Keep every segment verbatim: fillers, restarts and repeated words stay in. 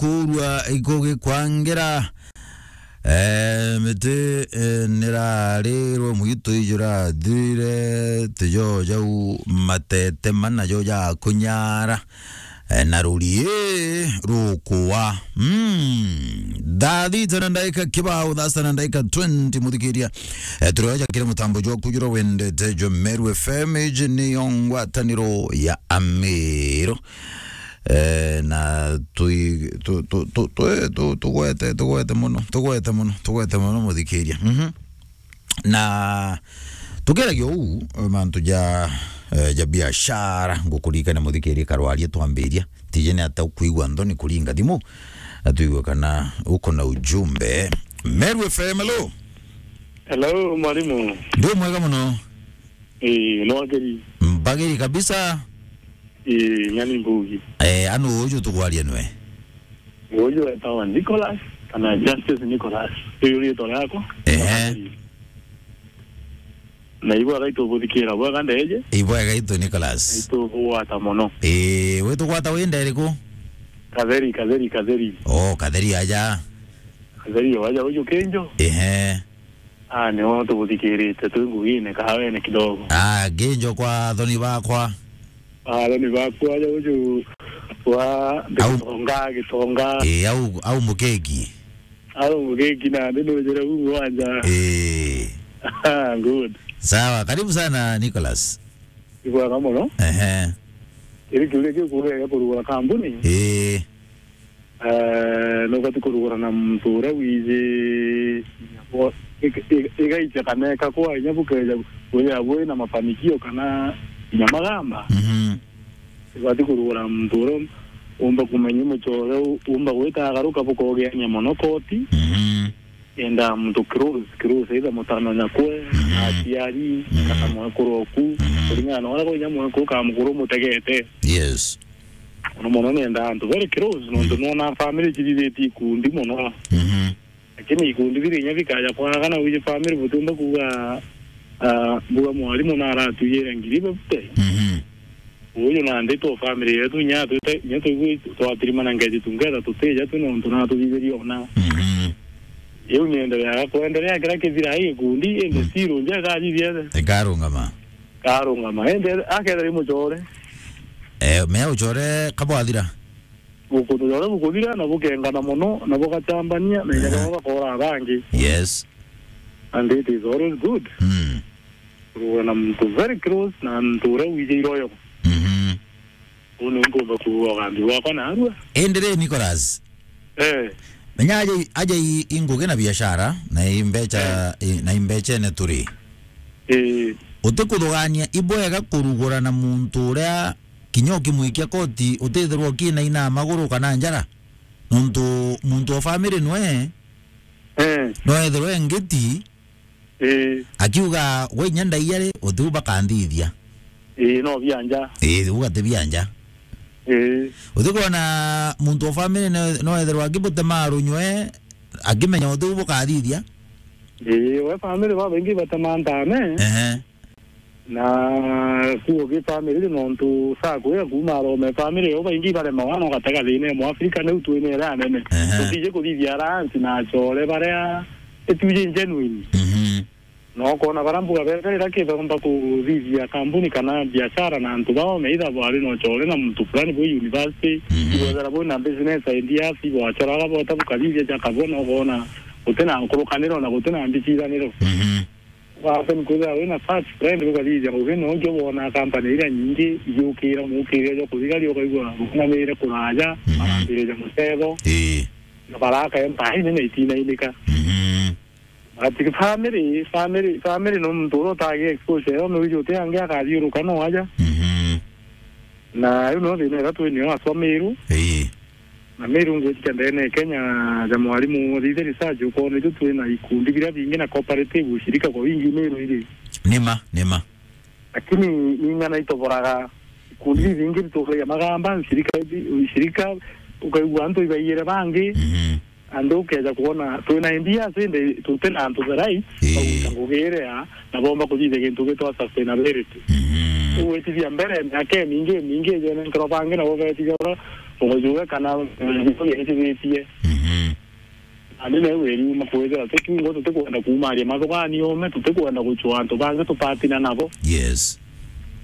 kurua ikugikwangira. Eh, miti, eh, nirarirwe mwitu ijurathire, tijo jau matete mana jo ja kunyara. Eh, na ruri rukua. Mm. Thaa thita na ndaika kibao, thaa sita na ndaika twenty, muthikiria. Eh, turoja kiri mutambo jwa kujura wendete jo Meru F M, iji niyo ngwataniro ya Amiru. Eh, na tui-, tu-, tu-, tu-, tu-, eh, tu-, tugwete, tugwete muno, tugwete muno, tugwete muno, muthikiria. Mhm. Na tukeragia uu, eh, mantu ja, eh, ja biashara, ngukuririkania muthikiria karwaria twambiria. Tije ni ata ukwigua nthoni kuringa thimu, na tuigue kana uko na ujumbe. Meru F M, hello. Hello, mwarimu. Ndi mwega muno. Ii, nwageri. Mbagiri kabisa. Ii, nyani mbugi. Eh, anu uju tugwaria nwe? Uju wetawa Nicholas, kana Justice Nicholas. Uyu riitwa riakwa. Ehe. Na ibwega itubuthikira bwega ndeje. Ibwega itu Nicholas. Itugwata muno. Ii, witugwata wi nderiku? Katheri, Katheri, Katheri. Oh, Katheri aja. Katheri aja uju kinjo. Ehe. Ah, nio tubuthikirite twi ngugine kahawene kidogo. Ah, nginjo kwa athoni bakwa. Ah, athoni bakwa aja uju wa Au- Gitonga, Gitonga. Eh, au, au mukeki. Au mukeki na ndi nujire uu wanja. Eh. Ah, good. Sawa, karibu sana Nicholas. Ibwega muno. Ehe. Kiri kiuria kiu kuria kurugura kambuni. Eh. Eh, nubati kurugura na muntu uria wiji, ik-, ik-, igaitia kana eka kwa inya bukeja kwithira bwi na mafanikio kana inya magamba. Mhm. Ubati kurugura na muntu uria umba kumenya muchore u-, umba gwita agaruka bukogeania mono koti. Mhm. Enda muntu close, close, either mutano nyakwe, mhm, aciari, mhm, kana mwekuru oku. Mhm. Kuringana na uria kunya mwekuru kana mukuru mutegete. Yes. Mono mono nenda antu very close, nontu, mm, nona family cithithitie ikundi mono. Mhm. Lakini ikundi biri inya bikaja kwaga na wiji family butiumba kuuga, ah, mbuga mwarimu na aratujire ngiri bebute. Mhm. Uyu nandi tu family yetu inya twite, inya twigwi twatirimana ngeji tungeta tutija tu nontu na tuthitheria ona. Mhm. Iu niendereaga kwenderea kira kithira ai gikundi, indi, mm, still nje kathithiete. Ikarungama. Karungama. Indi akethira i muchore. Eh, mea uchore kabwathira. Ukuntu jore bukuthira na bukengana mono na bugachambania na inya, aha, baba bakora abangi. Yes. And it is always good. Mm. Kurugwa na muntu very close na muntu uria wijire uyo. Mhm. Uu niu nkumba kuuga ugambi bwakwa narua. Indi ri, Nicholas? Eh. Menya aja i-, aja i-, i ngugi na biashara, na i mbecha, eh, i-, na i mbechene turi. Eh. Utikuthugania, ibwega kurugura na muntu uria kinya ukimwikia koti, utithirwa ukinaina maguru kana njara? Nontu muntu o family nwe, eh, no ethirwe ngiti, ii, akiuga, "We inya ndaiya ri, utiu bakanthithia." Ii, no bianja. Ii, uga ti bianja. Ii. Utikwona muntu o family no, no ethirwa akibutema runywe, akimenya utiu bukathithia? Ii, we family babaingi batema ntame. Ehe. Na kuo gi family nontu sakwe ya kuuma arome family yo baingi baremawa no gatega thina ya Mwafrika niu twinere anene. Ehe. Tutije kuthithia aransi na achore baria ituje genuine. Mhm. No kona bara mbuga beterera kithomba kuthithia kambuni kana biashara na antu bao, either bwari no chore na muntu fulani bwi university, mhm, ibwethera bwi na business ideas, ibwachoraga bota bukathithia jakabona, ukona gutina nkurukaniro na gutina mbicithaniro. Mhm. Wacha ni kwithira wina first friend, ukathithia ngugi no uju wona company iria nyingi igiukira mukirire jwa kuthigari, ukaigua rungamire kuraja, mhm, marambiriria mucetho, ii, na baraka empire nene itinainika. Mhm. But family, family, family no muntu uria utagi exposure yo, no uju uti angi akathiuruka no aja. Mhm. Na riu no thina iria twinio aswa Miru. Ii. Na Miru ngwitika ndene Kenya ja mwarimu, uthithe research, ukona itu twina ikundi biria bingi na cooperative, ushirika kwa wingi Miru iri. Nima, nima. Lakini ning'ana itoboraga ikundi, mm, bibingi bituragia magamba, ushirika, ushirika, ukaigua antu ibaiyire bangi. Mhm. Antu ukeja kwona twina ideas indi tutina antu the right, ii, baguta ngugi iria na bomba kuthithia gintu gitwa sustainability. Mhm. Ugwitithia mbere miaka imingi, imingi, ijene nkero bangi nabo betithia uria Ugajuga kana, eh, niko gietithitie. Mhm. Na ndi neu weri uma kwithira tukiuga tutikwenda kuumaria mathuganio ume, tutikwenda gucua antu bangi tupatina nabo. Yes.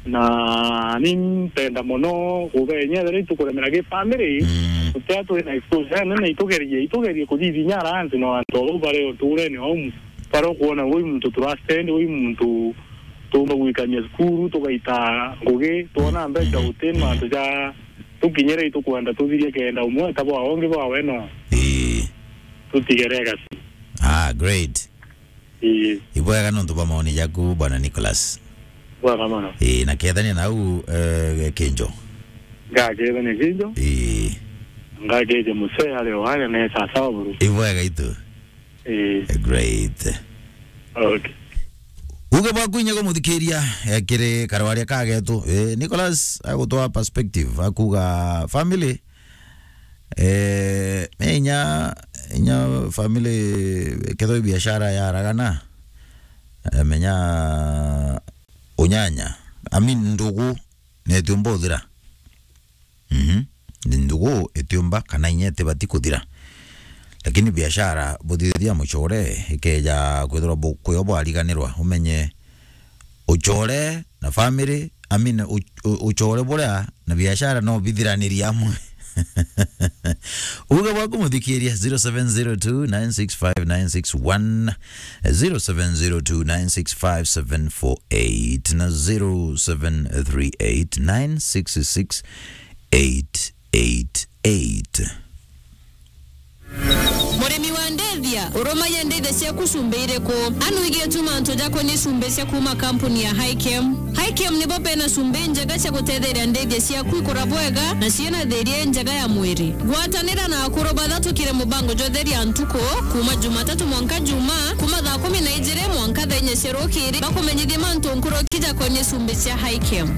Na ni mpenda mono kubenya ethira itukuremera gi family, mm, tutia twina exposure nene, itugerie, itugerie kuthithinya ara antu no antu au bari uturene au, bara ukuona ui muntu turastendi, ui muntu tuumba gwikania cukuru, tugaita ngugi, twona mbeca, mm, uti mantu ja tukinyire itukwenda tuthirie kenda umwe ta bwa ungi bwa weno. Ii. Tutigere gasi. Ah, great. Ii. Ibwega nontu bwa maoni jaku, Bwana Nicholas. Bwega mono. Ii, na kethania nau, eh, Kinjo. Ngakethania Kinjo. Ii. Ngakeje musee ari o aria ne sawa buru. Ibwega itu. Ii. Great. Okay. Uge bwaku inya kumuthikiria, eh, kiri karwaria kagetu. Eh, Nicholas agutwa perspective, akuga family, eh, inya, inya family, kethwa biashara yaragana, eh, menya unyanya, I mean, ndugu, netiumba uthira. Mhm. Ndugu itiumba kana inya itibati kuthira. Lakini biashara buthithia mucore ikeja kwithirwa bu-, kuyo bwariganirwa, umenye ucore na family, I mean, u-, u-, ucore buria na biashara no bithiranirie amwe. Uge bwaku muthikiria, zero seven zero two nine six five nine six one, zero seven zero two nine six five seven four eight na zero seven three eight nine six six eight eight eight. Murimi wa ndithia, urumagia ndithia ciaku cumbi iriku? Anu igie tu mantu jakonie cumbi cia kuuma kampuni ya Hikem. Hikem nibo bena cumbi njega cia gutetheria ndithia ciaku ikura bwega na ciina thiria njega ya mwiri. Gwatanira na akuru bathatukire mubango jwa Theria Ntuku, kuuma Jumatatu mwanka Juma, kuuma thaa kumi na ijiri mwanka thaa inya cia rukiri, bakumenyithie mantu nkuruki jakonie cumbi cia Hikem.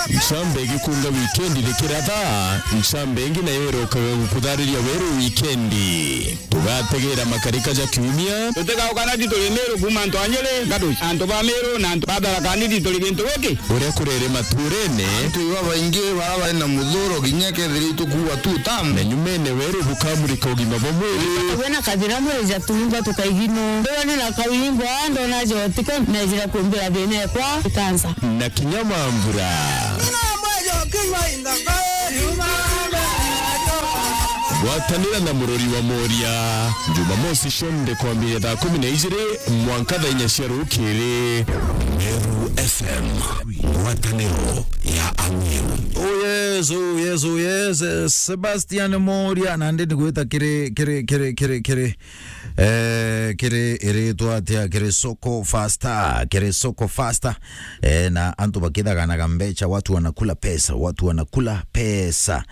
Ncambe igikunga wikendi rikiratha, ncambe ingi nayo irokaga gukuthariria weru wikendi. Tugategera makarika ja kiumia. Tutigaukana ti turi Meru kuuma antu a Nyeri, Ngadu, antu ba Meru na antu ba Tharaka Nithi turi gintu giki. Uria kurere maturene. Antu babaingi bara bari na muthuro kinya kethira itukuwa tu tamu. Na nyumene weru bukamurika ugima bwa mwiri. Wena kathira mwiri ja tuimba tukaigino. Ndona na kawimbo, ndona jotiko, na jira kumbira thina ekwa, kansa. Na kinya mambura. Gwatanira na murori wa Moria, Jumamosi cionthe kwambiria thaa kumi na ijiri mwanka thaa inya cia rukiri. Meru F M, ngwataniro ya Ameru. Oh yes, oh yes, oh yes. Eh, Sebastian Moria, na ndi nigwita kiri, kiri, kiri, kiri, kiri. Eh, kiri iritwa atia? Kiri Soko Fasta, kiri Soko Fasta. Eh, na antu bakithaganaga mbeca, watu wanakula pesa, watu wanakula pesa.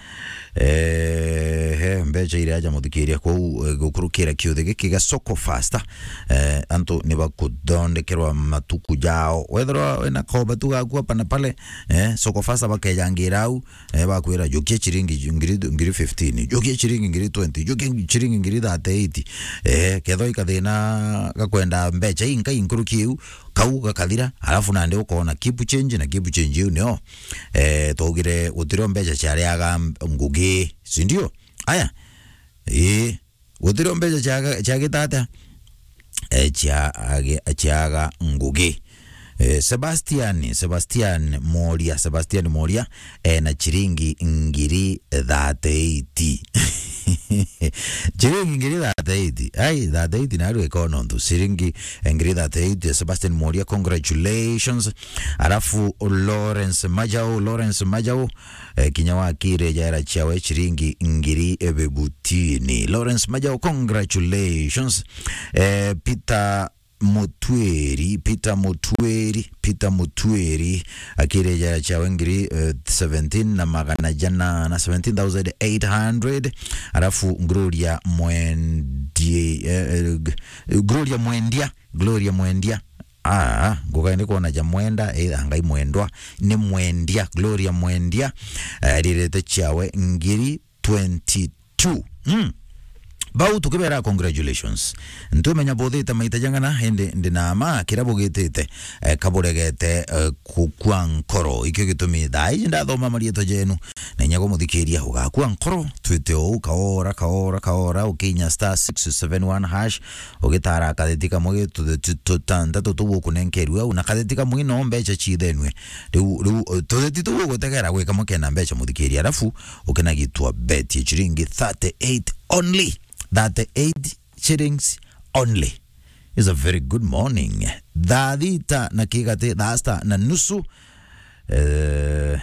Eh, he, mbeca iria aja muthikiria kwou, eh, gukurukira kiuthi giki gia Soko Fasta. Eh, antu ni bakuthondekerwa matuku jao. Wethirwa wina koba tu gaku hapa na pale, eh, Soko Fasta bakejangira au, eh, bakwira, "Jukia chiringi ngiri, ngiri fifteen, jukia chiringi ngiri twenty, jukia chiringi ngiri thirty-eight." Eh, kethwa ikathina gakwenda mbeca inkai nkuruki iu, kau gakathira, alafu nandi ukoona keep change, na keep change iu nio, eh, twaugire gutirio mbeca ciariaga ngugi, si ndio? Aya, ii, gutirio mbeca ciaga-, ciagita atia? Eh, cia-, age-, ciaga ngugi. Eh, Sebastian, Sebastian Moria, Sebastian Moria, eh, na chiringi ngiri thirty-eight. Chiringi ngiri thirty-eight. Ai, thirty-eight na arwe kono ntu. Chiringi ngiri thirty-eight, Sebastian Moria, congratulations. Alafu Lawrence Majau, Lawrence Majau, eh, kinya wakire jaira ciawe chiringi ngiri bibutini. Lawrence Majau, congratulations. Eh, Peter Mutweri, Peter Mutweri, Peter Mutweri, akire jaira ciawe ngiri, eh, seventeen na magana jana na seventeen thousand eight hundred. Alafu Gloria Mwendi-, eh, eh, G-, Gloria Mwendia, Gloria Mwendia. Ah, ngukae ni kwona ja mwenda, eh, angai mwendwa, ni Mwendia, Gloria Mwendia, eh, rirete ciawe ngiri twenty-two. Mm. bau tukibera congratulations. Ntumenya buthite maita jang'ana, indi ndi na ma kira bugitite, eh, kaburegete, eh, kukua nkoro. Ikio gitumi thaa iji ndathoma marietwa jenu. Na inya gumuthikiria ugakua nkoro, twite ou kaora, kaora, kaora, ukinya star six seven one hash, ugitara katheti kamwe gi tutheti tutantatu tuu ukunenkerue au, na katheti kamwe no mbeca ciithenue. Riu, riu, eh, tutheti tuu ugutegera gwi kamwe kena mbeca muthikiria, alafu ukinagitwa bet ya ciringi thirty-eight only. Thirty-eight shillings only. It's a very good morning. Thaa thita na kigati, thaa sita na nusu. Eh,